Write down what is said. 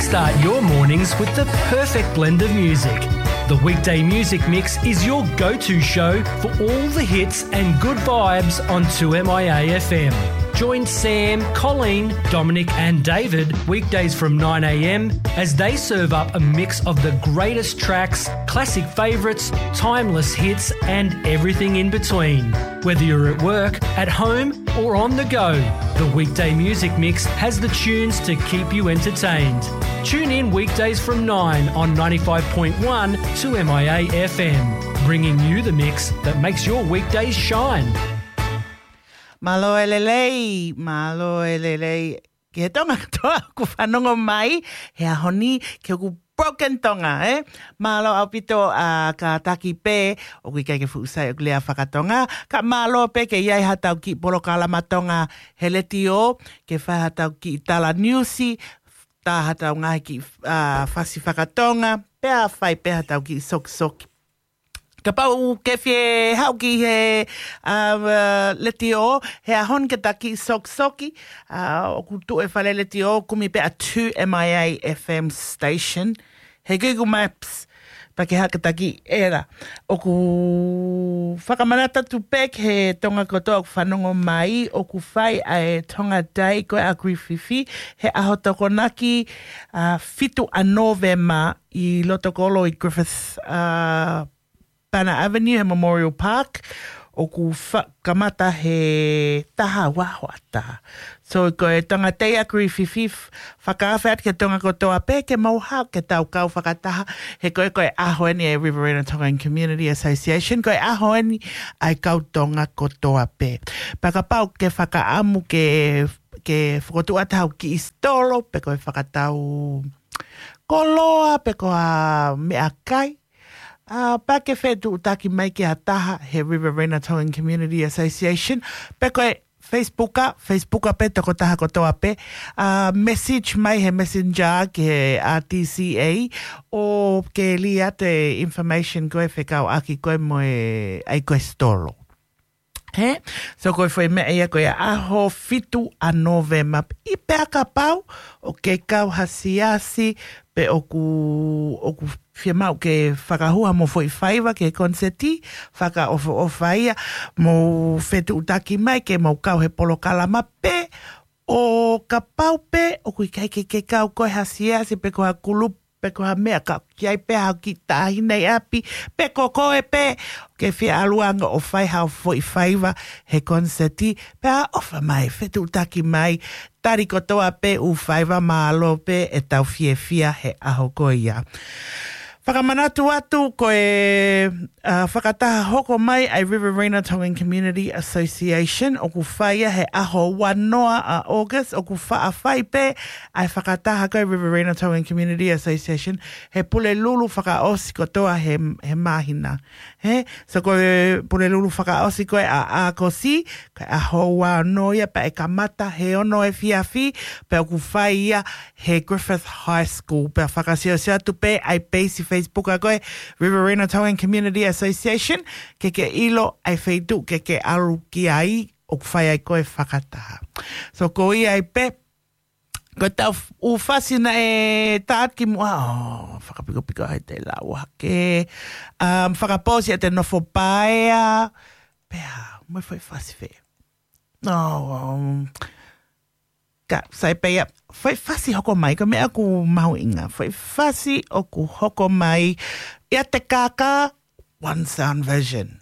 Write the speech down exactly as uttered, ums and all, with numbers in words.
Start your mornings with the perfect blend of music. The weekday music mix is your go-to show for all the hits and good vibes on two M I A F M. Join Sam, Colleen, Dominic and David weekdays from nine a.m. as they serve up a mix of the greatest tracks, classic favourites, timeless hits and everything in between. Whether you're at work, at home or on the go, the weekday music mix has the tunes to keep you entertained. Tune in weekdays from nine on ninety-five point one two M I A F M, bringing you the mix that makes your weekdays shine. Mālō e lelei, mālō e lelei. Ke Tonga katoa ʻoku fanongo mai he ʻaho ni, ke ʻoku broken Tonga, ē? Mālō ʻaupito ʻa kātaki pē, ʻoku ʻikai ke fuʻu sai ʻeku lea fakatonga, ka mālō pē ke ʻi ai haʻatau kiʻi polokalama Tonga he letiō, ke fai haʻatau kiʻi tala niusi, tā haʻatau ngaahi kiʻi, ā, fasi fakatonga, pea fai pē haʻatau kiʻi sokisoki. Kapau ʻoku ke fie haʻu ki he, ā, letiō, he ʻaho ni ke taki sokisoki, ā, ʻoku tuʻu e fale letiō, kumi pē ʻa two M I A F M station. He Google Maps, pea ke haʻu ke taki ʻela. ʻOku fakamanatu atu pē ki he Tonga kotoa ʻoku fanongo mai, ʻoku fai ʻa e Tonga Day ko ē ʻa Griffith he ʻaho Tokonaki, ā, fitu ʻa Nōvema ʻi loto kolo ʻi Griffith, ā, Banner Avenue he Memorial Park, ʻoku fa-, kamata he taha ua hoʻatā. So, ko e Tonga Day ʻa Griffith, fakaafe atu ki he Tonga kotoa pē ke mou haʻu ke tau kau fakataha, he ko e, ko e ʻaho eni e Riverina Tongan Community Association, ko e ʻaho eni ʻa e kau Tonga kotoa pē. Pea kapau ʻoku ke fakaʻamu ke, ke fokotuʻu atu haʻo kiʻi stolo, pe ko e fakatau koloa, pe ko ha meʻakai, ā, pea ke fetuʻutaki mai ki ha taha he Riverina Tongan Community Association, pe ko e Facebook, Facebook pē tokotaha kotoa pē, ā, message mai he Messenger ki he R T C A, ʻo ke lī atu e information ko ē fekauʻaki ko ē mo e, ʻa e ko e stolo. He? So ko e foʻi meʻa ia ko ia ʻaho fitu ʻa Nōvema. ʻI pea kapau ʻoku ke kau ha siasi pe ʻoku, ʻoku fiemaʻu ke fakahū haʻamo foʻi faiva ki he koniseti, fakaʻofoʻofa ia, mou fetuʻutaki mai ke mou kau he polokalama pē, ʻo kapau pē ʻoku ʻikai ke ke kau koe ha siasi pe ko ha kulupu pe ko ha meʻa ka ʻoku ʻi ai pē haʻo kiʻi taʻahine ʻi ʻapi, pe ko koe pē, ʻoku ke fie ʻalu ange ʻo fai haʻo foʻi faiva he koniseti, pea ʻofa mai, fetuʻutaki mai, tali kotoa pē ʻū faiva, mālō pē ʻetau fiefia he ʻaho ko ia. Fakamanatu atu ko e, ā, fakataha hoko mai ʻa e Riverina Tongan Community Association, ʻoku fai ia he ʻaho ua noa ʻa August, ʻoku faʻa fai pē ʻa e fakataha ko e Riverina Tongan Community Association he Pulelulu fakaʻosi kotoa he, he māhina. He, so ko e Pulelulu fakaʻosi ko ē ʻa ʻAokosi, ko e ʻaho ua ono ia pea ʻe kamata he ono efiafi, pea ʻoku fai ia he Griffith High School, pea fakasiosio atu pē ʻa e peisi Facebook ʻa ko e Riverina Tongan Community Association, ke ke ʻilo ʻa e feituʻu ke ke ʻalu ki ai, ʻoku fai ai ko e fakataha. So ko ia ai pē, ko ʻetau f-, ʻū fasi naʻe tā atu kimuʻa, ʻo, fakapikopiko ai te lau hake. Um, fakapōsi ʻa te nofo paea. Pea, mo e foʻi fasi fē. No, um, ka, sai pē ia, foʻi fasi hoko mai, ko e meʻa ʻoku mahuʻinga. Foʻi fasi ʻoku hoko mai, ʻia te kākā, One Sound Vision.